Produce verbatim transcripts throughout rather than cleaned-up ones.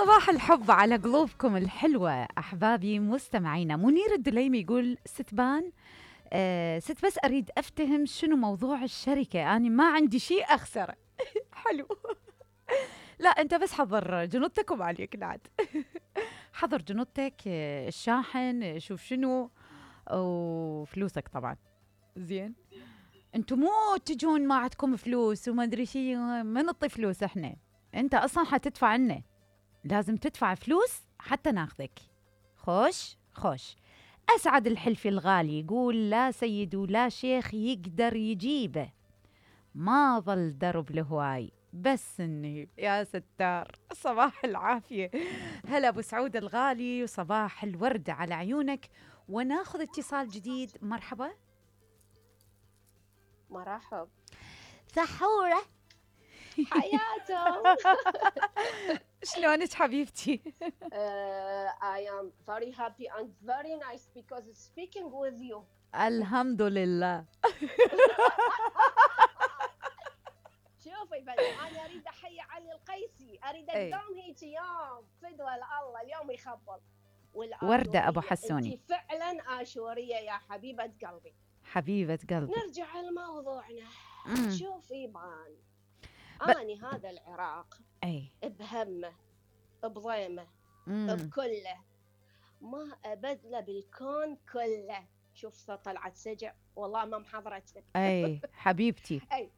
صباح الحب على قلوبكم الحلوة أحبابي مستمعينا. منير الدليمي يقول ستبان آه ست بس أريد أفتهم شنو موضوع الشركة، أنا ما عندي شيء أخسره. حلو. لا أنت بس حضر جنودتك وما عليك نعد. حضر جنودتك، آه، الشاحن، آه، شوف شنو، وفلوسك طبعا. زين، انتو مو تجون ما عندكم فلوس وما ادري شيء، ما نعطي فلوس احنا، انت اصلا حتدفع لنا، لازم تدفع فلوس حتى ناخذك. خوش خوش. اسعد الحلفي الغالي يقول لا سيد ولا شيخ يقدر يجيبه، ما ظل درب الهواي بس النيب. يا ستار، صباح العافية. هلا ابو سعود الغالي، وصباح الورد على عيونك. وناخذ اتصال جديد. مرحبا. مرحب. سحورة. حياتهم. شلونك حبيبتي؟ uh, I am very happy and very nice because speaking with you. الحمد لله. شوفي بس انا اريد احيي علي القيسي، اريد اقدام هيك يوم فدوى الله اليوم يخبل. وردة ابو حسوني، انت فعلا اشوريه يا حبيبه قلبي. حبيبة قلبي. نرجع لموضوعنا. شوفي بان ب... اني هذا العراق اي بهمه بضيمه بكله ما ابدله بالكون كله. شوف طلعت سجع والله ما محضرته. اي حبيبتي. اي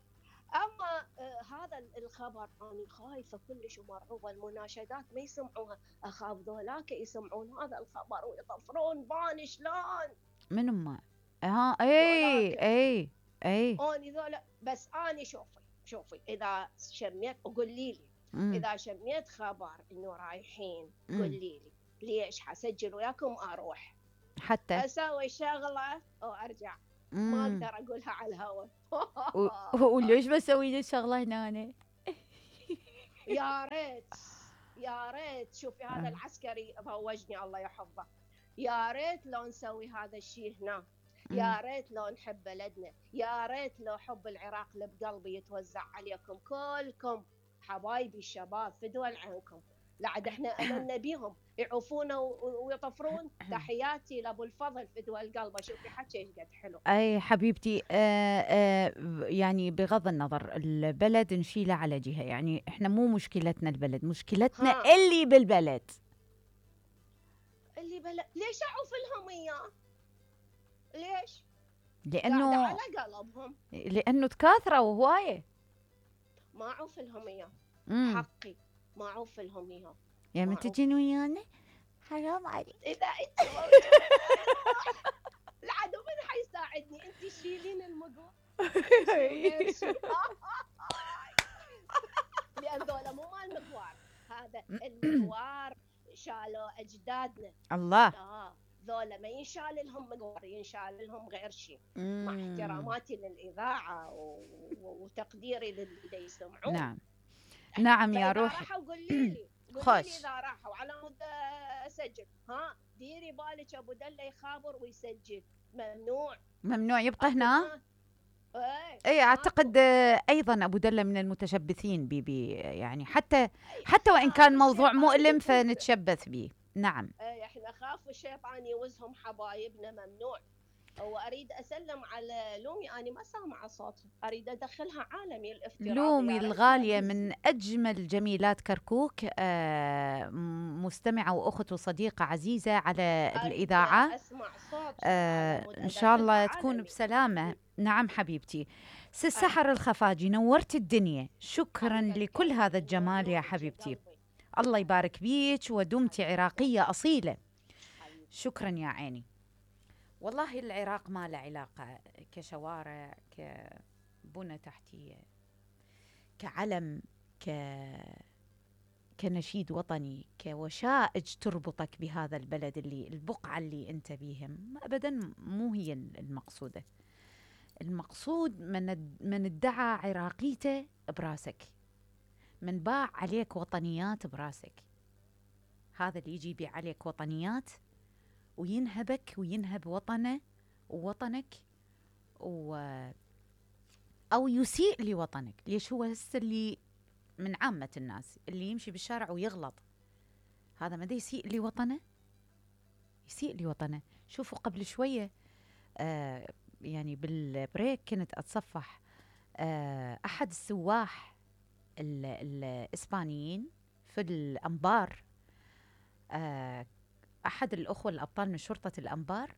اما آه هذا الخبر انا خايفه كلش ومرعوبه، المناشدات ما يسمعوها، اخاف ذولاك يسمعون هذا الخبر ويطفرون بان. شلون من ما ها اي اي اي اني ذولا. بس اني شوفي شوفي اذا شميت وقولي لي مم. اذا شميت خبر انه رايحين قولي لي ليش، حسجل وياكم اروح حتى اسوي شغله وارجع. مم. ما اقدر اقولها على الهواء. وليش بسوي لي شغله هنا أنا؟ يا ريت يا ريت. شوفي هذا العسكري فوجني الله يحفظه. يا ريت لو نسوي هذا الشيء هنا، يا ريت لو نحب بلدنا، يا ريت لو حب العراق اللي بقلبي يتوزع عليكم كلكم حبايبي الشباب فدوى عنكم. لعد احنا املنا بيهم يعوفونا ويطفرون. تحياتي لابو الفضل فدوى القلب. شوفي حكي ايش قد حلو. اي حبيبتي. آه آه يعني بغض النظر البلد نشيله على جهه، يعني احنا مو مشكلتنا البلد، مشكلتنا ها. اللي بالبلد اللي بلد. ليش اعوف لهم اياه؟ ليش؟ لانه على قلبهم، لانه تكاثروا هوايه. ما اعوف لهم اياه، حقي ما اعوف لهم اياه. يا من تجين ويانا حرام عليك. اذا انت العدو من حيساعدني؟ انت شيلين المقور. لان ذولا مو مال مقوار، هذا المقوار شالوا اجدادنا. الله. اه ذولا ما ينشال لهم مقوار، ينشال لهم غير شيء. مع احتراماتي للاذاعه وتقديري للي يسمعون. نعم نعم يا روحي. راحوا قولي لي قولي لي اذا راحوا على مود اسجل. ها ديري بالك ابو دله يخابر ويسجل. ممنوع ممنوع يبقى هنا. اي اي اعتقد ايضا ابو دله من المتشبثين بي يعني حتى حتى وان كان موضوع مؤلم فنتشبث به. نعم. اي احنا خاف الشيطان يوزهم حبايبنا. ممنوع. واريد اسلم على لومي، انا ما سامعه صوتها، اريد ادخلها عالمي الافتراضي. لومي الغاليه من اجمل جميلات كركوك، آه مستمعه واخت وصديقه عزيزه على الاذاعه. اسمع صوت آه ان شاء الله تكون بسلامه. نعم حبيبتي. سي سحر الخفاجي نورت الدنيا، شكرا لكل هذا الجمال يا حبيبتي. الله يبارك بيك ودمتي عراقيه اصيله. شكرا يا عيني. والله العراق ما له علاقة كشوارع، كبنى تحتية، كعلم، ك كنشيد وطني، كوشائج تربطك بهذا البلد اللي البقعة اللي انت بيهم. أبدا مو هي المقصودة. المقصود من من ادعى عراقيته براسك، من باع عليك وطنيات براسك، هذا اللي يجي يبيع عليك وطنيات وينهبك وينهب وطنه ووطنك و... أو يسيء لوطنك. ليش هو هسه اللي من عامة الناس اللي يمشي بالشارع ويغلط هذا ما دا يسيء لوطنه، يسيء لوطنه. شوفوا قبل شويه آه يعني بالبريك كنت اتصفح آه احد السواح ال- الاسبانيين في الانبار، آه احد الاخوه الابطال من شرطه الانبار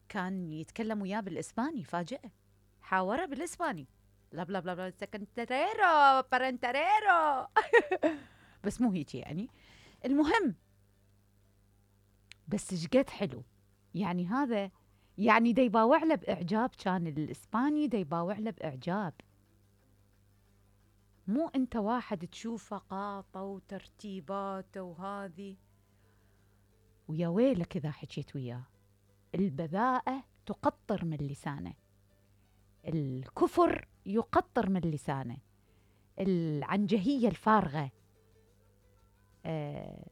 كان يتكلم وياه بالاسباني، فاجئه حاوره بالاسباني، لا بلا بلا بلا سكنتريرو برنتريرو بس مو هيك يعني. المهم بس شقد حلو يعني هذا، يعني دا يباوع له باعجاب، كان الاسباني دا يباوع له باعجاب. مو انت واحد تشوفه قاطه وترتيباته وهذه، ويا ويلك اذا حكيت وياه. البذاءة تقطر من لسانه، الكفر يقطر من لسانه، العنجهية الفارغة، آه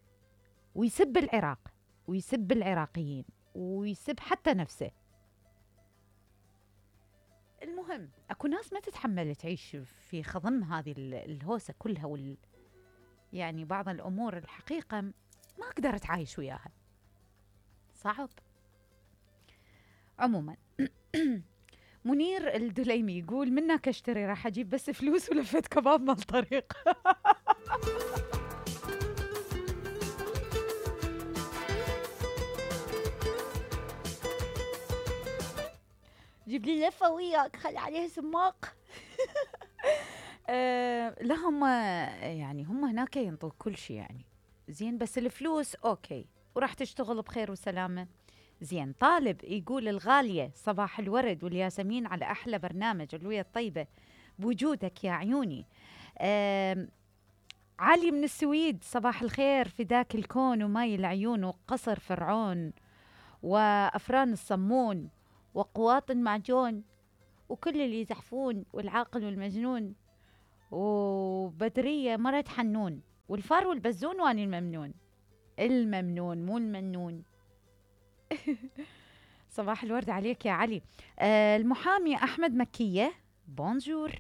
ويسب العراق ويسب العراقيين ويسب حتى نفسه. المهم اكو ناس ما تتحمل تعيش في خضم هذه ال- الهوسة كلها وال يعني بعض الامور الحقيقة ما اقدر اتعايش وياها، صعب. عموما منير الدليمي يقول منك اشتري، راح اجيب بس فلوس ولفت كباب مال طريق. جيب لي لفه وياك خلي عليها سماق. آه لا هم يعني هم هناك ينطوك كل شيء يعني زين، بس الفلوس اوكي وراح تشتغل بخير وسلامه. زين. طالب يقول الغاليه صباح الورد والياسمين على احلى برنامج الوية الطيبه بوجودك يا عيوني. آه علي من السويد صباح الخير، فداك الكون وماي العيون وقصر فرعون وافران الصمون وقواط المعجون وكل اللي يزحفون والعاقل والمجنون وبدرية مرت حنون والفار والبزون واني الممنون. الممنون مو المنون. صباح الورد عليك يا علي. آه المحامي أحمد مكية بونجور.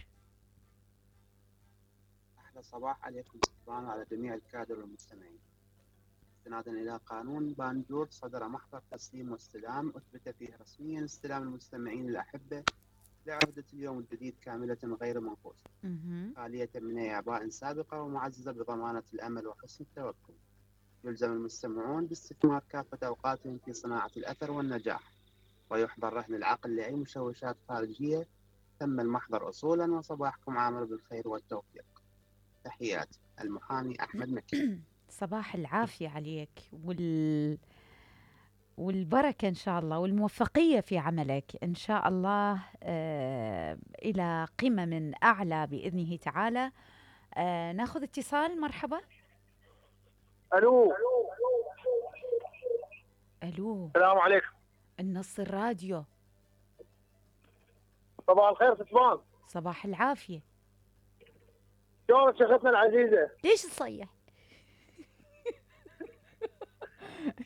أحلى صباح عليكم طبعا على جميع الكادر والمستمعين. استنادا إلى قانون بانجور صدر محضر تسليم واستلام أثبت فيه رسميا استلام المستمعين الأحبة لعهدة اليوم الجديد كاملة غير منقوصة، خالية من أي أعباء سابقة ومعززة بضمانة الأمل وحسن التوكل. يلزم المستمعون باستثمار كافة أوقاتهم في صناعة الأثر والنجاح، ويحضر رهن العقل لأي مشوشات خارجية. تم المحضر أصولا وصباحكم عامر بالخير والتوفيق. تحياتي المحامي أحمد مكي. صباح العافية عليك وال والبركة إن شاء الله والموفقية في عملك إن شاء الله، آه إلى قمم أعلى بإذنه تعالى. آه ناخذ اتصال. مرحبا. الو ألو. السلام عليكم. النص الراديو. صباح الخير ستمان. صباح العافية. شلونك شيختنا العزيزة؟ ليش تصيح؟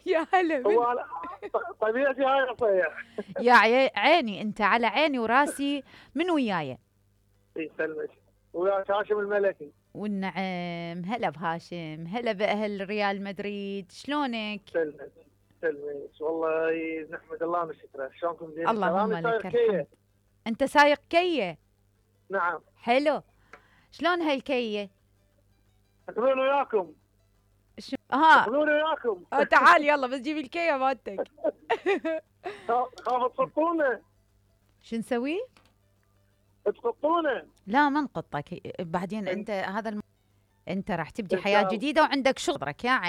يا هلا. هو أنا طبيعتي هاي أصيح. يا عي- عيني انت على عيني وراسي. من وياي؟ يسلمك. ويا هاشم الملكي. والنعم. هلا بهاشم، هلا باهل ريال مدريد، شلونك؟ سلمك سلمك والله نحمد الله من شكره. شلونكم زين؟ اللهم أنا لك سايق كية. الحمد. انت سايق كيه؟ نعم. حلو. شلون هالكيه؟ تاخذون وياكم. شو ها؟ تاخذون وياكم. آه تعال يلا بس جيب الكيه مالتك. خاف تخطونا. شو نسوي؟ تخطونا. لا ما نقطك بعدين انت هذا الم... انت راح تبدي إن شاء حياه الله. جديده وعندك شغلك يا عين.